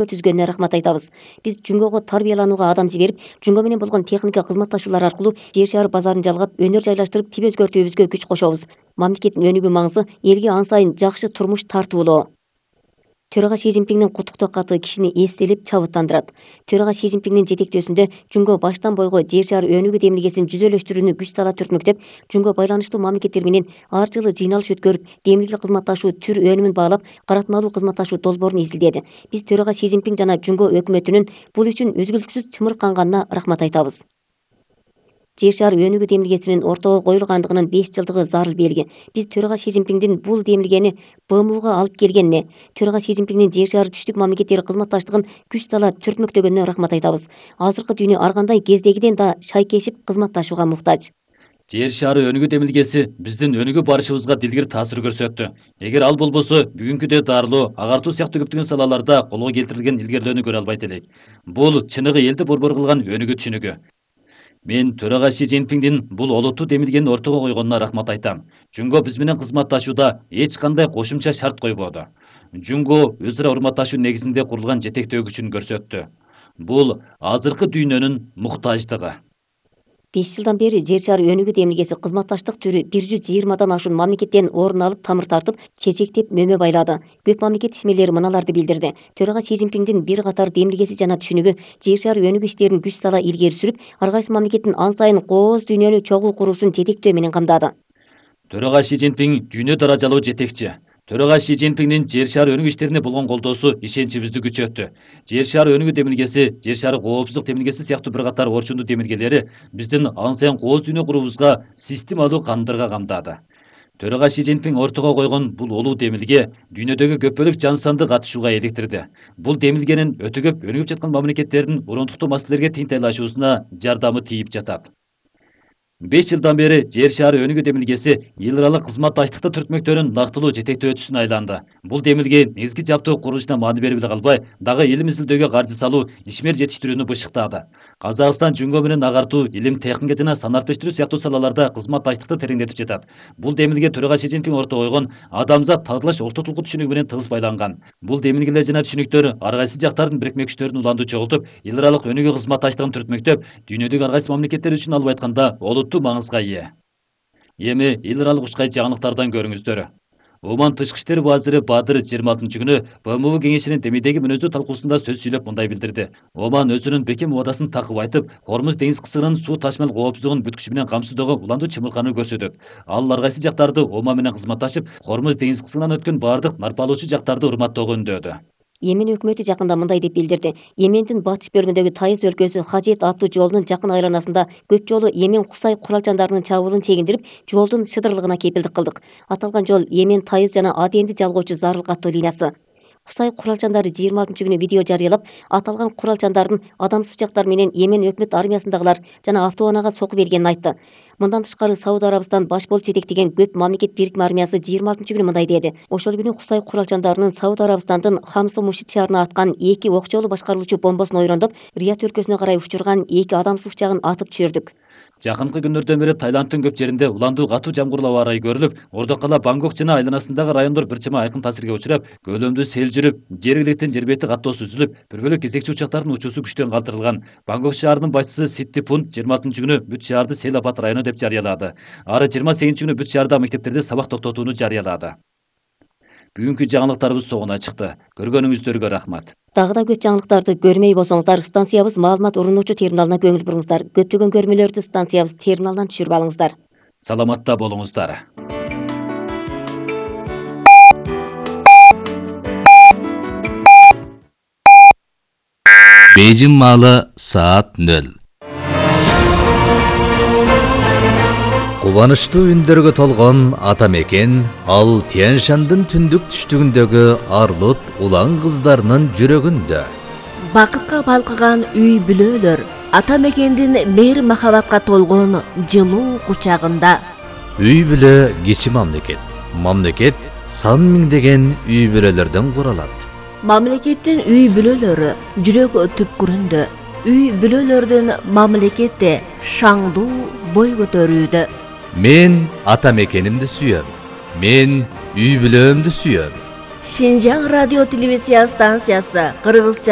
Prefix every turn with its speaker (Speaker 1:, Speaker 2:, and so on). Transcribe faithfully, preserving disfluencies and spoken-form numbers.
Speaker 1: түзгөнүнө рахмат айтабыз. Биз Жүнгөгө тарбияланууга адам жиберип, Жүнгө менен болгон техника кызматташуулар аркылуу жер шаар базарын жалгап, өнөр жайлаштырып, тип өзгөртүүбүзгө күч кошобуз. Мамлекеттин өнүгүү маңызы элге ан сайын жакшы турмуш тартуулоо. Төрага Си Цзиньпиңдин куттуктоо каты кишини эстелип чабыттандырат. Төрага Си Цзиньпиңдин жетектөөсүндө Жүнгө баштан бойго жер шаар өнүгүү демилгесин жүзөлөштүрүүнү күч сала түртмөктөп, Жүнгө байланыштуу мамлекеттер менен ар жылы жыйналыш өткөрүп, демилге кызматташуу түр өнүмүн баалап, каратмалуу кызматташуу долбоорун изилдеди. Биз төрага Си Цзиньпиң жана Жүнгө өкмөтүнүн бул үчүн үзгүлтүксүз чымырканганына рахмат айтабыз. Жер шаар өнүгүү демилгесинин ортого коюлгандыгынын беш жылдыгы зарыл белги. Биз төрага Си Цзиньпиңдин бул демилгени Б М Уга алып келгенине, төрага Си Цзиньпиңдин жер шаар түштүк мамлекеттери кызматташтыгын күч сала түртмөктөгөнүнө рахмат айтабыз. Азыркы дүйнө ар кандай кездегиден да шайкешип кызматташууга муктаж.
Speaker 2: Жер шаары өнүгүү демилгеси биздин өнүгүү барышыбызга дилгир таасир көрсөттү. Эгер ал болбосо, бүгүнкүдөй дарылоо, агартуу сыяктуу көптөгөн салаларда колго келтирилген илгерилөөнү көрө албайт элек. Бул чыныгы элди борбор кылган өнүгүү түшүнүгү. Мен төрага Си Цзиньпиңдин бул олуттуу демилгени ортого койгонуна рахмат айтам. Жүнгө биз менен кызматташууда эч кандай кошумча шарт койбоду. Жүнгө өз ара урматташуу негизинде курулган жетектөө күчүн көрсөттү. Бул азыркы дүйнөнүн муктаждыгы.
Speaker 1: беш жылдан бери жер шаар өнүгүү демилгеси кызматташтык түрү бир жүз жыйырмадан ашуун мамлекеттен орун алып, тамыр тартып, чечектеп мөмө байлады. Көп мамлекет ишмерлери мыналарды билдирди. Төрага Си Цзиньпиңдин бир катар демилгеси жана түшүнүгү жер шаар өнүгүү иштерин күч сала илгери сүрүп, ар кайсы мамлекеттин ан сайын кооз дүйнөнү чогуу куруусун жетектөө менен камдады.
Speaker 2: Төрага Си Цзиньпиң дүйнө даражалуу жетекчи. Төрага Си Цзиньпиңдин жер шаар өнүгүү иштерине болгон колдоосу ишеничибизди күчөттү. Жер шаар өнүгүү демилгеси, жер шаар коопсуздук демилгеси сыяктуу бир катар орчундуу демилгелери биздин ан сайын кооз дүйнө куруубузга системалуу кандырга камдады. Төрага Си Цзиньпиң ортого койгон бул улуу демилге дүйнөдөгү көпөлүк жан санды катышууга эликтирди. Бул демилгенин өтө көп өнүгүп жаткан мамлекеттердин урундуктуу маселелерге тең тайлашуусуна жардамы тийип жатат. беш жылдан бери жер шаары өнүгүү демилгеси эл аралык кызматташтыкты түртмөктөрүн нактылуу жетектөө өтүшүнө айланды. Бул демилге негизги жаптоо курулушуна маани берип эле калбай, дагы илим изилдөөгө каржы салуу, ишмер жетиштирүүнү бышыктады. Казакстан Жүнгө менен агартуу, илим, техника жана санариптештирүү сыяктуу салаларда кызматташтыкты тереңдетип жатат. Бул демилге төрага Си Цзиньпиң ортого койгон адамзат татыйлаш ортотулгу түшүнүгү менен тыгыз байланган. Бул демилгелер жана түшүнүктөр ар кайсы жактардын бирикме күчтөрүн уланды чогултуп, эл аралык өнүгүү кызматташтыгын түртмөктөп, дүйнөдөгү ар кайсы мамлекеттер үчүн алып айтканда олуттуу маңызга ээ. Эми эл аралык учкай жаңылыктардан көрүңүздөр. Оман тышкы иштер вазири Бадыр жыйырма алтынчы күнү Б М У кеңешинин демейдеги мүнөздүү талкуусунда сөз сүйлөп мындай билдирди. Оман өзүнүн бекем убадасын такып айтып, Хормуз деңиз кысырынын суу ташмал коопсуздугун бүткүчү менен камсыздоого уландуу чымыркануу көрсөтөт. Ал ар кайсы жактарды Оман менен кызматташып, Хормуз деңиз кысырынан өткөн баардык нарпалоочу жактарды урматтоого үндөдү.
Speaker 1: Йемен өкмөтү жакында мындай деп билдирди. Йемендин батыш бөлүгүндөгү Тайыз өлкөсү Хажет аттуу жолдун жакын айланасында көп жолу Йемен Кусай куралчандарынын чабуулун чегиндирип, жолдун шыдырлыгына кепилдик кылдык. Аталган жол Йемен Тайыз жана Аденди жалгоочу зарыл каттоо линиясы. Кусай куралчандары жыйырма алтынчы күнү видео жарыялап, аталган куралчандардын адамсыз учактар менен Йемен өкмөт армиясындагылар жана автоунаага соку бергенин айтты. Мындан тышкары Сауд Арабистан баш болуп жетектеген көп мамлекет бирикме армиясы жыйырма алтынчы күнү мындай деди. Ошол күнү Кусай куралчандарынын Сауд Арабистандын Хамсы Мушит шаарына аткан эки ок жолу башкарылуучу бомбосун ойрондоп, Рият өлкөсүнө карай учурган эки адамсыз учагын атып түшүрдүк.
Speaker 2: Жакынкы күндөрдөн бери Таиландтын көп жеринде уландуу катуу жамгырлуу аба ырайы көрүлүп, ордо кала Бангкок жана айланасындагы райондор бир чама айкын таасирге учурап, көлөмдүү сел жүрүп, жергиликтин жер бети каттоосу үзүлүп, бир бөлөк кезекчи учактардын учуусу күчтөн калтырылган. Бангкок шаарынын башчысы Ситтипунт жыйырма алтынчы күнү бүт шаарды сел апат району деп жарыялады. Ары жыйырма сегизинчи күнү бүт шаардагы мектептерде сабак токтотууну жарыялады. Бүгүнкү жаңылыктарыбыз соңуна чыкты. Көргөнүңүздөргө рахмат.
Speaker 1: Дагы да көп жаңылыктарды көрмөй болсоңуздар, станциябыз маалымат урунуучу терминалына көңүл буруңуздар. Көптөгөн көрмөлөрдү станциябыз терминалдан түшүрүп алыңыздар.
Speaker 2: Саламатта болуңуздар.
Speaker 3: Бейжин маалы саат нөл. Кубанычтуу үндөргө толгон ата мекен ал Тянь-Шандын түндүк түштүгүндөгү арлут улан кыздарынын жүрөгүндө.
Speaker 4: Бакытка балкыган үй бүлөлөр ата мекендин мейир махабатка толгон жылуу кучагында.
Speaker 3: Үй бүлө кичи мамлекет. Мамлекет сан миңдеген үй бүлөлөрдөн куралат.
Speaker 4: Мамлекеттин үй бүлөлөрү жүрөк түпкүрүндө. Үй бүлөлөрдүн мамлекетте шаңдуу бой көтөрүүдө.
Speaker 3: Мен ата мекенимди сүйөм. Мен үй бүлөмдү сүйөм.
Speaker 4: Шинжаң радио телевизия станциясы кыргызча